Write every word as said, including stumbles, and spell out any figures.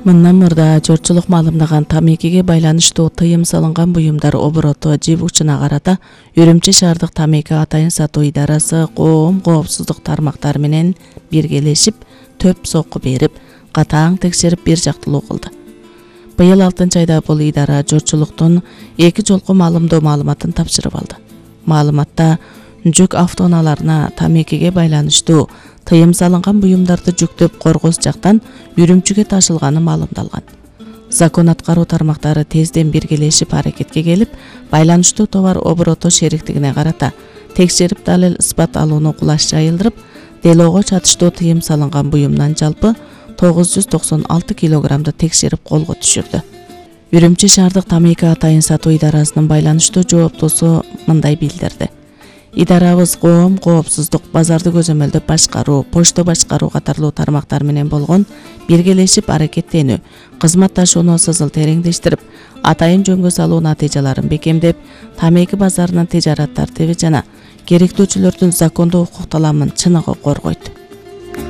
Мындан мурда жортчулук маалымдаган тамекиге байланыштуу тыйым салынган буюмдар обороту жибучуна карата Үрүмчү шаардык тамеки атайын сатуу идарасы коом коопсуздук тармактары менен биргелешип төп сокку берип, катаң текшерип бир жактылуу кылды. Быйыл алтынчы айда бул идара жортчулуктун эки жолку маалымдоо маалыматын тапшырып алды. Маалыматта жүк автоунааларына тамекиге байланыштуу тыйым салынган буюмдарды жүктөп коргоз жактан Үрүмчүгө ташылганы маалымдалган. Закон аткаруу тармактары тезден биргелешип аракетке келип, байланыштуу товар обороту шериктигине карата текшерип далил ыспат алууну кулаш жайылдырып, делоого чатыштуу тыйым салынган буюмдан жалпы тогуз жүз токсон алты килограммды текшерип колго түшүрдү. Үрүмчү шаардык тамеки атайын сатуу идарасынын байланыштуу жооптуусу мындай билдирди. Идарабыз коом коопсуздук, базарды көзөмөлдөп башкаруу, почто башкаруу катарлуу тармактар менен болгон биргелешип аракеттенүү, кызматташууну сызыл тереңдештирип, атайын жөнгө салуу натыйжаларын бекемдеп, тамеки базарынын тижарат тартиби жана керектөөчүлөрдүн закондуу укук таламын чыныгы коргойт.